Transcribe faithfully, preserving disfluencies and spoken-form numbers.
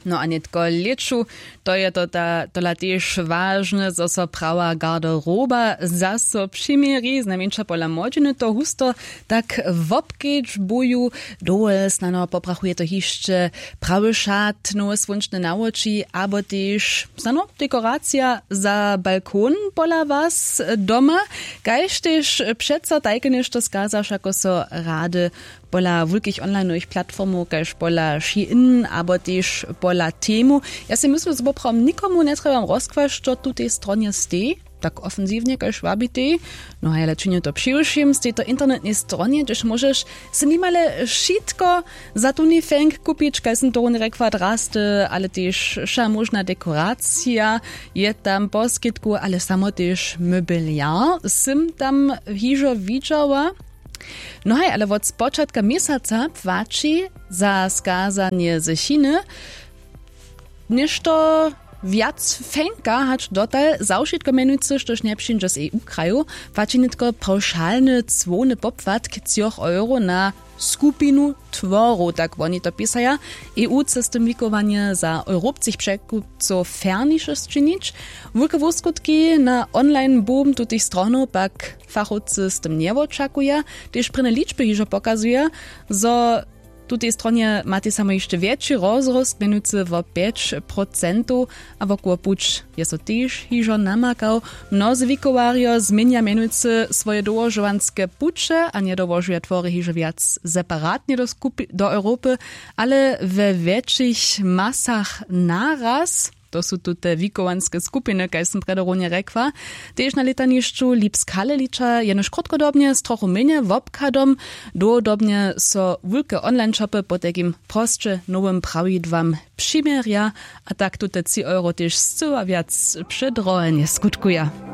No a nětko lěću, to je to ta tola tež wažne, zo so prawa garderoba zaso přiměri, znajmjeńša pola młodźiny to husto tak wobkedźbuju. Dowol snano poprachuje to hišće prawy šat, nowe słónčne nawoči abo tež snano dekoracija za balkon pola was doma. Kaž tež přeco tajke něšto skazaš ako so rady pola wulkich onlineowych platformow kaž pola Shein abo tež pola Temu. Ja sej myslu zo poprawom nikomu njetrjebam rozkłaš što tutej stronje stej tak ofensiwnje kaž wabitej. No haj ale činju to přiwšěm z tejto internetnej stronje hdźež móžeš se nimale wšitko za tuni fenk kupić kaž sym to runje rjekła drasty ale tež wša móžna dekoracija je tam poskitku ale samo tež mobiliar sym tam hižo widźała. No haj ale wot spočatka měsaca płaći za skazanje ze chiny něšto wjac fenka hač dotal za wšitko mjenujcy štož njepřińdźe z eu kraju. Płaći nětko pawšalny cłowny popłatk třoch euro na skupinu tworow tak woni to pisaja. Eu chce z tym wikowanje za europskich překupcow ferniše sčinić. Wulke wuskutki na online boom tutych stronow pak fachowcy z tym njewočakuja. Tež prěnje ličby hižo pokazuja zo w tutej stronje matej samo hišće wjetši rozrost mjenujcy wo pjeć procentow. A wokoło puć je so tež hižo namakał. Mnozy wikowarjo změnja mjenujcy swoje dołožowanske puće a njedołožuja twory hižo wjac separatnje do europy ale we wjetšich masach naraz. To su tute wikowanske skupiny kaž sym prjedy runje rjekła. Tež na lětanišću lipsk halelića jenož krótkodobnje z trochu mjenje wobchadom. Dołhodobnje so wulke online shopy potajkim prosće nowym prawidłam přiměrja. A tak tute tři euro tež scyła wjac předrohenje skutkuja.